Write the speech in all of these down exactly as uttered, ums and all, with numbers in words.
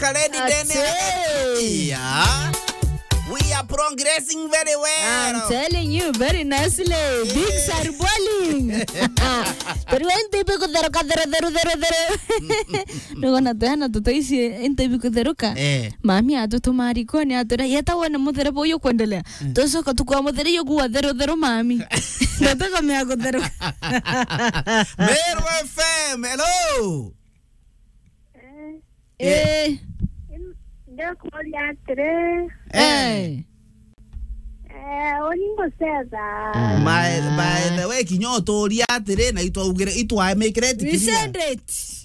Kaledi Dene. Ati. Yeah. We are progressing very well. I'm telling you, very nicely. Bigs are bowling. Turi wa into ibi kutheruka, theru, theru, theru, theru. Nigona tuhana tutaici into ibi kutheruka. Eh. Mami atutuma rikoni atwira, "Yeta wone muthereba uyu kwendelea." Mm. Tucoka tukwa mutheru uyu kuwa theru, theru, mami. Na tukamea kutheruka. Meru F M, hello. Eh. Eh. Ndakuria atiri. Eh. Eh. Eh, uni ngucetha. By, by the way, kinya uturia atiri, na itwaugire, itwamikire etikiria. We send it.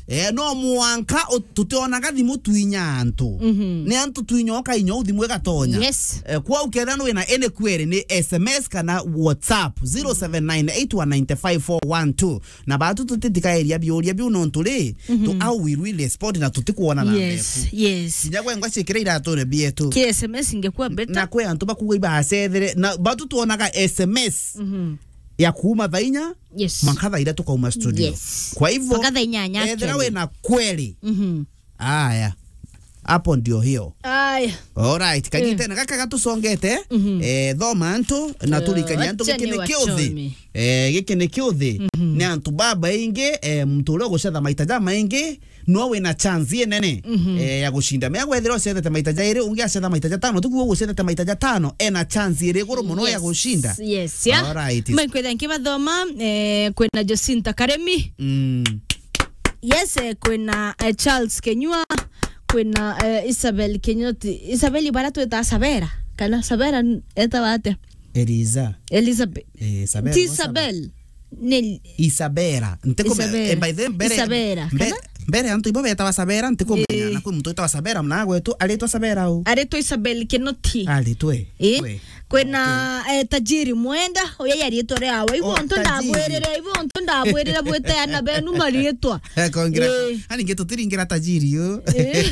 Eh, no mwanka u-, tutionaga thimu twinya antu. Mhm. Ni antu twinya ukainya u thimu igatonya. Yes. Eh, kwa ukethira wina any query ni S M S kana WhatsApp zero seven nine eight one nine five four one two. Na batu tutitikaeria biuria biu nontu ri, tu, mhm, how will we respond na tutikwona na yes, mbeku? Yes. Kinya gwe ngwa ciikire iratune bietu. Ki S M S ingekuwa better. Na kwe antu bakuga ibacethere, na batu twonaga S M S, mhm, ya kuuma thaa inya, yes, mwanka thaa iria tukauma studio. Yes. Kwa hivyo, mpaka thaa inyanya ethira actually wina query, mhm. Aya. Hapo ndio hiyo. Aya. Alright, kagitene gaka gatusongete. Mhm. Eh, thoma antu na turikania antu, acha giki ni kiuthi. Niwachome. Eh, giki ni kiuthi. Mhm. Ni antu babaingi, eh, muntu uria ugucetha maita jamaingi, no wina chance inene, mhm, eh, ya gucinda. Mea gwethira ucethete maita jairi, ungi acetha maita jatano, tukuo ugucethete maita jatano, ena chance iri iguru muno ya gucinda. Yes, yeah. Alright. Maikwetha nkibathoma, eh, kwina Jacinta Karemi. Mm. Yes, eh, kwina, eh, Charles Kenyua, kwina, eh, Isabel Kenyoti. Isabel ibara twita Sabera, kana Sabera n-, etawa atia? Eliza. Elizabeth. Eh, Sabera. Ti Isabel. Ni Isabera. Ntikumenya. Isabera. Eh, by the way, mbere, Isabera, mbe-, kana? Mbere antu ibo betawa Sabera, ntikumenya. Eh. Na kwi muntu wetawa Sabera, mna gwetu, aritwa Sabera u? Aritwa Isabel Kinoti. Aritwe. Eh? We. Kwina, okay, eh, Tajiri Mwenda, uyu yari itwa riawe. Ibo, oh, ntu Tajiri. Ndabwirire, ibo ntu ndabwirire bwite ana benu mariitwa. Eh, congrats. Eh. Ani nge tutiringira Tajiri u. Eh.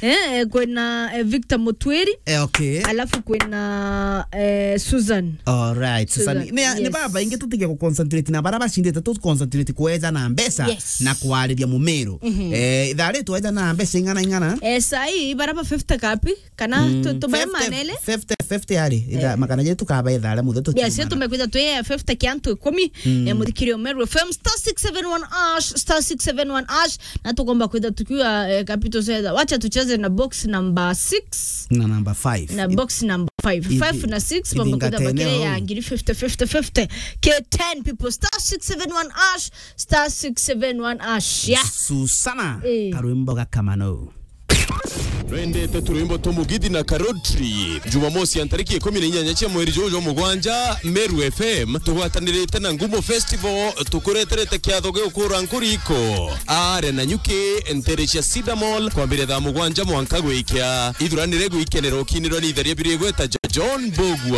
Eh, kwina, eh, Victor Mutwiri. Eh, okay. Alafu kwina, eh, Susan. All right, Susan. Susan, ni, ni, yes, baba ingi tutige ku concentrate na bara bacindite, tu concentrate kweja na mbeca, yes, na kwariria mumiru. Mhm. Eh, ithaa ri tweja na mbeca ing'ana ing'ana? Eh, sai, bara ba fifty kapi? Kana mm, tu-, tubae fifty, manele? Fifty, fifty ari. Itha, eh, makana jetu kaba ithaa ria muthe tu. Yes, tumekwitha twi, eh, fifty kia antu ikumi. Mm. Eh, muthikiri o Meru F M, star six seven one hash, star six seven one hash. Na tukomba kwitha tukiwa, eh, capital center. Wacha tucheze na box number six. Na number five. Na box number five. Ithi-, five na six, ithi mambo kwitha ngate bakire neo. Ya ngiri fifty, fifty, fifty. K ten people, star six seven one hash, star six seven one hash. Yeah. Susana, eh, karwimbo ga Kamano. Nwendete turwimbo twa Mugithi na Karotri? Jumamosi ya ntariki ikumi na inyanya cia mweri juju jwa mugwanja, Meru F M tugwatanirite na Ngumo Festival tukureterete kiatho gia gukura nkuriko. Are na nyuki ntere cia Cedar Mall kwambiria thaa mugwanja mwanka gwikia. Ithuranire gwikenera ukinirwa ni itheria biri igweta ja John Bogwa.